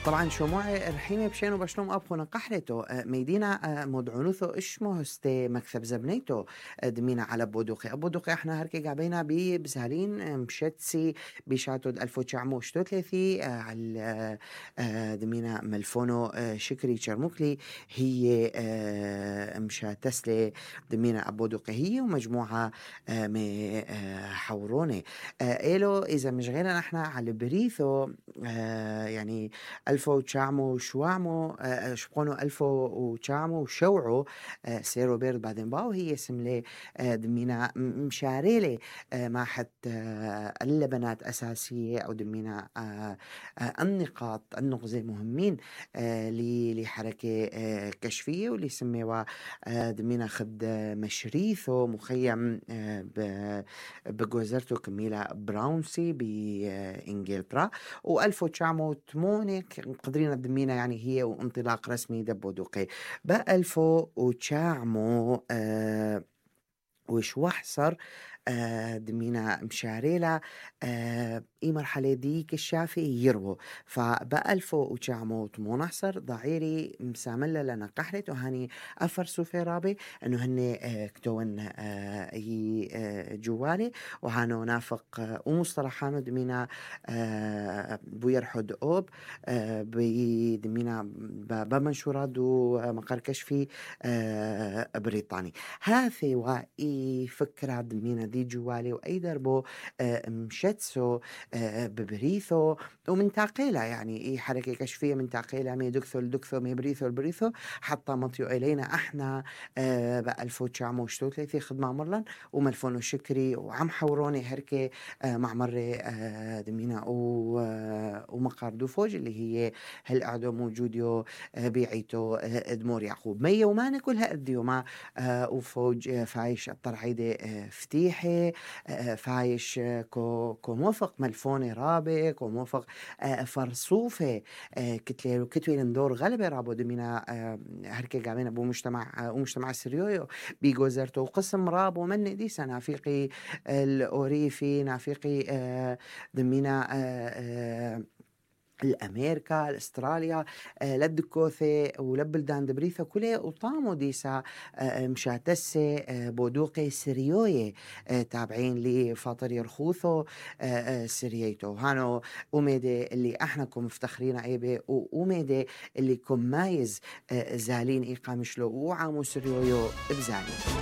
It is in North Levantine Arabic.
طبعا شموع رحيمة بشينو بشلوم أبخو نقحلتو ميدينا مدعونوثو إشمو هستي مكثب زبنيتو دمينا على بودوقي أبودوقي إحنا هركي قابينا بزهالين مشتسي بشاتود 1933 على دمينا ملفونو شكري شرموكلي هي مشا تسلي دمينا أبودوقي هي ومجموعة حوروني إلو إذا مش غيرنا إحنا على بريثو يعني ألفو وشامو وشوامو شبقونو ألفو وشامو وشوعو سيرو بيرد بعدين باو هي سملي دمينا مشاريلي ما حتى اللبنات أساسية أو دمينا النقاط النقزة مهمين لحركة كشفية واللي سميوا دمينا خد مشريثو مخيم بجوزرتو كميلة براونسي بإنجلترا وألفو تشامو تمونك قدرين دمينا يعني هي وانطلاق رسمي دبودوقي بألفو وتشامو وشوح صار دمينا مشاريلا اي مرحلة ديك الشافي يروو فبألفو وشامو تمون أحصر ضعيري مساملة لنا قحلت وهاني أفرسو في رابي أنه هني كتون هي جوالي وهانو نافق ومصطلحانو دمينا بويرحد أوب بدمينا بمنشورات ومقر كشفي بريطاني هاثي وإي فكرة دمينا دي جوالي وأي دربو مشتسو ببريثو ومن تاقيلة يعني إي حركة كشفية من تاقيلة مي دكثو الدكثو مي بريثو البريثو حتى مطيو إلينا إحنا بألفو تشامو شتوتلي خدمة مرلن وملفونو شكري وعم حوروني هركي مع مرة دمينا ومقار دوفوج اللي هي هل قعدوا موجوديو بيعيتو دمور يعقوب مية وما كلها أديو ما وفوج فايش الطرعيدة فتيحي فايش كو موفق ملفوني رابي كو موفق فرصوفة كتليرو كتوين ندور غلبة رابو دمينا هركي قامين أبو مجتمع سريويو بيجوزرتو قسم رابو من دي نافيقي الأوريفي نافيقي دمينا الأمريكا الأستراليا لدكوثي ولبلدان دبريثة كله وطامو ديسا مشاتسة بودوقي سريوية تابعين لفاطر يرخوثو سرييتو هانو أميدة اللي احنا كم مفتخرين عيبه وأميدة اللي كم مايز زالين إيقامشلو وعامو سريويو بزالين